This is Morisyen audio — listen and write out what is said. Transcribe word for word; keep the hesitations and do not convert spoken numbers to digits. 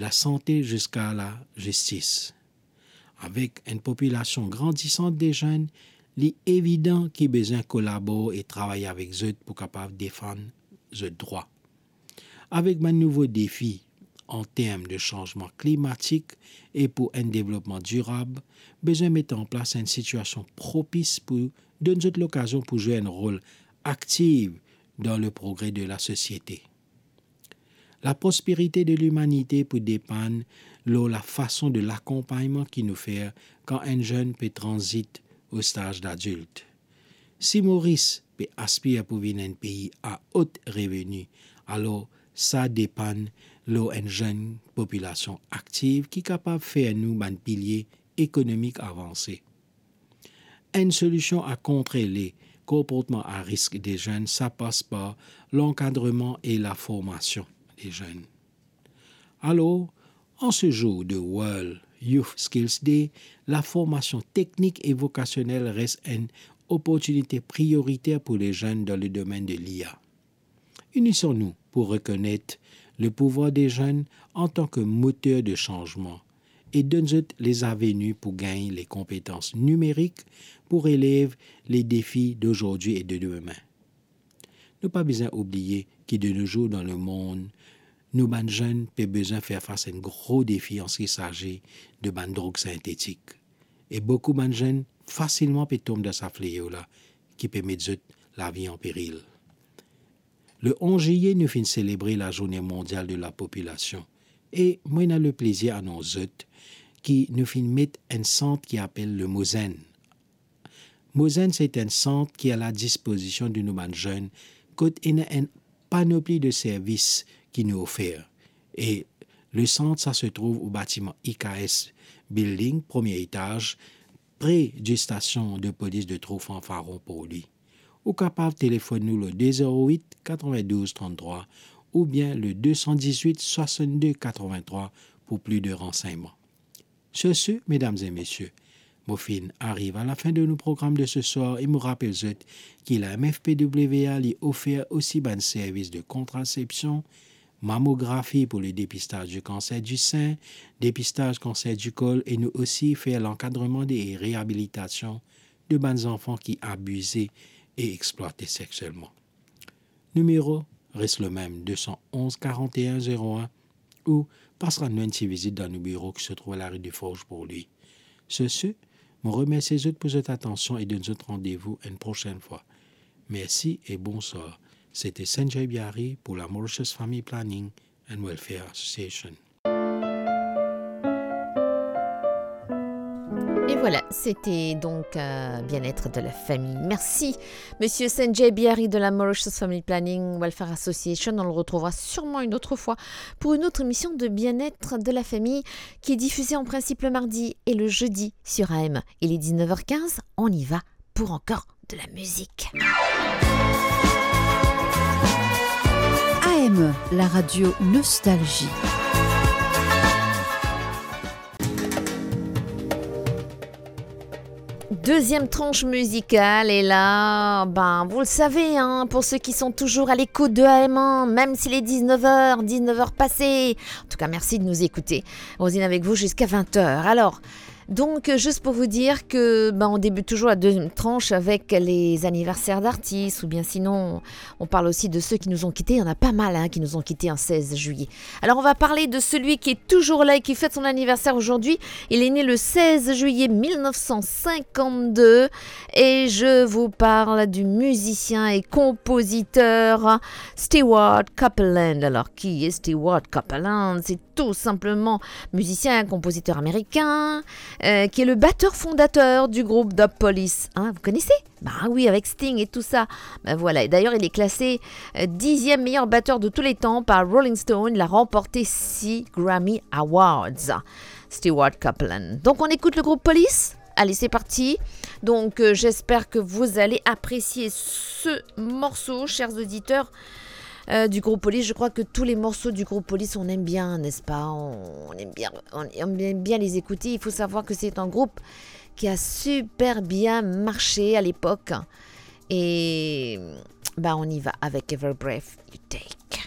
lasante ziska lazistis. Avek enn popilasion grandisan de zenn, li evidan ki bizin kolabor e travay avek zot pou kapav defann zot drwa. Avek bann nouvo defi an term de sanzman klimatik e pou enn devlopman dirab, bizin met an plas enn sitiasion propis pou donn zot lokazion pou zwe enn rol aktiv dan le progre de lasosiete. Laprosperite de limanite pou depann lor lafason de lakonpagnman ki nou fer kan enn zenn pe tranzit o staz dadilt. Si Moris pe aspir pou vinn enn pei a ot reveni, alor sa depann lor enn zenn popilasion aktiv ki kapav fer nou bann pilie ekonomik avanse. Enn solision a kontre le konportman a risk de zenn, sa pas par lankadreman e laformasion de zenn. Alor, an se zour de World Youth Skills Day, laformasion teknik e vokasionel res enn oportinite prioriter pou le zenn dan le domenn de l'I A. Inison nou pou rekonet le pouvwar de zenn antan ke moter de sanzman e donn zot lezaveni pou gagn le konpetans nimerik pou relev le defi dozordi e de demin. Nou pa bizin oubliye ki de no zour dan lemond, nou bann zenn pe bizin fer fas enn gro defi an se ki sazi de bann drog sintetik. E boukou bann zenn fasilman pe tom dan sa fleo la ki pe met zot lavi an peril. Le onz ziye, nou finn selebre Lazourne Mondial de Lapopilasion e mo ena leplezir anons zot ki nou finn met enn sant ki apel le Mo Zenn. Mo Zenn, se enn sant ki a ladispozision de nou bann zenn, kot ena enn panopli de servis ki nou ofer. E le sant sa se trouv o batiman I K S Building, premie etaz, pre di stasion de polis de Trou Fanfaron, Porlwi. Ou kapav telefonn nou lor de zero wit, katrevindouz, tranntrwa oubien le de san dizwit, swasannde, katrevintrwa pou pli de ransegnman. Sur ce, mesdames et messieurs, mo finn ariv a lafen de nou program de se swar e mo rapel zot ki la M F P W A li ofer osi bann servis de kontrasepsion, mamografi pou le depistaz di kanser di sin, depistaz kanser di kol e nou osi fer lankadreman de, e reabilitasion de bann zanfan ki abize e explwate seksielman. Nimero res lemem, de san onz, karant e enn, zero enn, ou pas rann nou enn ti vizit dan nou biro ki se trouv lari de Forz, Porlwi. Sur ce, mo remersie zot pou zot atansion e donn zot randevou enn prosenn fwa. Mersi e bonswar. Sete Sanjay Biari pou la Mauritius Family Planning and Welfare Association. Et voilà, c'était donc, euh, Bien-être de la famille. Merci, monsieur Sanjay Biari de la Mauritius Family Planning Welfare Association. On le retrouvera sûrement une autre fois pour une autre émission de Bien-être de la famille qui est diffusée en principe le mardi et le jeudi sur A M. Il est dix-neuf heures quinze, on y va pour encore de la musique. A M, la radio Nostalgie. Deuxième tranche musicale, et là, ben, vous le savez, hein, pour ceux qui sont toujours à l'écoute de A M un, même s'il est dix-neuf heures, dix-neuf heures passées, en tout cas, merci de nous écouter. Rosine avec vous jusqu'à vingt heures. Alors, donc, euh, juste pour vous dire que, ben, on débute toujours la deuxième tranche avec les anniversaires d'artistes, ou bien sinon, on parle aussi de ceux qui nous ont quittés. Il y en a pas mal, hein, qui nous ont quittés en seize juillet. Alors, on va parler de celui qui est toujours là et qui fête son anniversaire aujourd'hui. Il est né le seize juillet mille neuf cent cinquante-deux et je vous parle du musicien et compositeur Stewart Copeland. Alors, qui est Stewart Copeland ? C'est tout simplement musicien, compositeur américain, euh, qui est le batteur fondateur du groupe The Police. Hein, vous connaissez ? Bah oui, avec Sting et tout ça. Ben voilà. Et d'ailleurs, il est classé, euh, dixième meilleur batteur de tous les temps par Rolling Stone. Il a remporté six Grammy Awards. Stewart Copeland. Donc, on écoute le groupe Police. Allez, c'est parti. Donc, euh, j'espère que vous allez apprécier ce morceau, chers auditeurs, euh, du groupe Police. Je crois que tous les morceaux du groupe Police, on aime bien, n'est-ce pas ? On, on aime bien, on aime bien les écouter. Il faut savoir que c'est un groupe qui a super bien marché à l'époque. Et, bah, on y va avec Every Breath You Take.